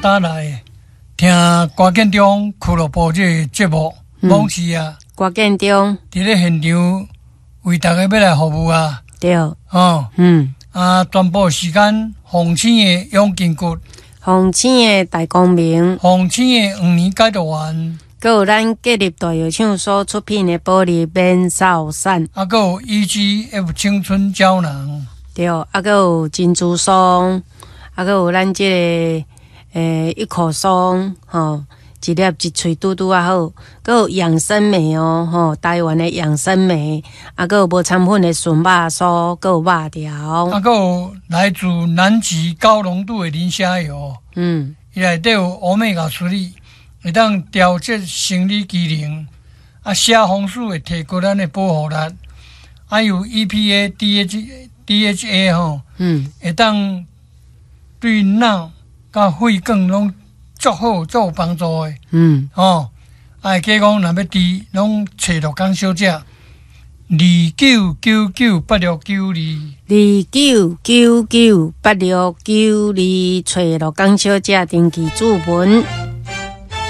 搭來聽歌建中俱樂部這个節目，往事啊，歌建中佇咧現場為大家欲來服務啊，對，哦，啊，全部時間鳳星的養筋骨，鳳星的大光明，鳳星的黃連解毒丸，閣有咱國立大藥廠所出品的保利免瘦散，啊，閣有 EGF 青春膠囊，對，啊，閣有珍珠霜，啊，閣有咱這个一口霜，吼，一粒一喙拄拄仔好，閣有養生莓哦，吼，台灣的養生莓，啊，閣有無摻粉的純肉酥，閣有肉條，啊，閣有來自南極高濃度的磷蝦油，伊內底有 Omega 3，會當調節生理機能，啊，蝦紅素會提高咱的保護力，啊，有 EPA、DHA 吼，會當對腦佮血管攏足好、足有幫助的。吼，啊，會記講若欲訂，攏揣樂江小姐，29998692。29998692，揣樂江小姐登記注文。